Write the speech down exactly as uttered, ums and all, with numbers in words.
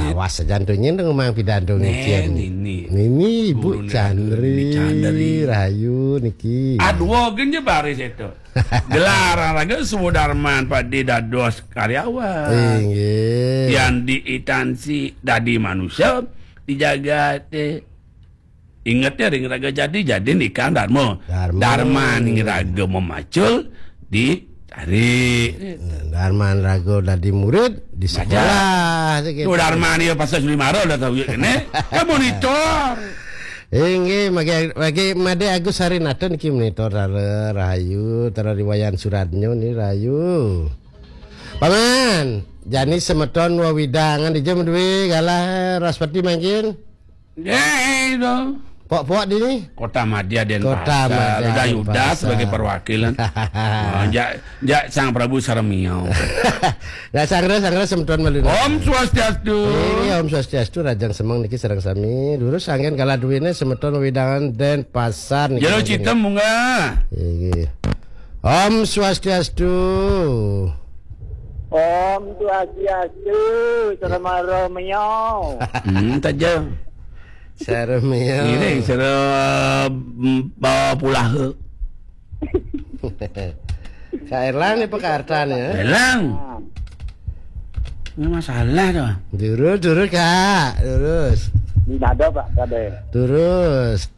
Lawas saja antunya dong mang pidato ngecen. Nini. Nini Ibu Guru Chandri. Nini Chandri. Rahayu niki. Aduh, genje baris itu. Gelar raga Sudarman padi dados karyawan. Inggih. Yang diitansi dadi manusia dijaga teh. Inget ya, ring raga jadi, jadi nikah Darma. Darma. Darma ning raga memacul di cari. Darma raga dadi murid di sekolah. Tuh Darma nih pasal Suli Maro udah tahu ya kene. Kan monitor. Inggih, magi magi Made Agus Harinata niki monitor rara rahayu, tara riwayan suratnya nih rahayu. Paman, jani semeton wewidangan di jam dua galah Raspati mangkin. Eh, itu. Pok-pok di ni. Kota Madya Denpasar. Kota Madya Denpasar. Udah Yudas sebagai perwakilan. Oh, jak jak Sang Prabu Sarmiau. Nah, sangre sangre semeton malu. Om Swastiastu. Ini Om Swastiastu, Rajang Semeng niki sareng sami. Durus anggen kala duwene semeton wewidangan Denpasar niki. Jero Citem munggah. Inggih. Om Swastiastu. Om Swastiastu, Sarama Romeo. Hmm, taja. Sarama. Ini sara, mm, bawa pulaha. Ka Erlang ni pekartan ya. Erlang. Ini masalah tuh. Durus, durus, Kak. Durus. Ini ada, Pak, ada. Durus.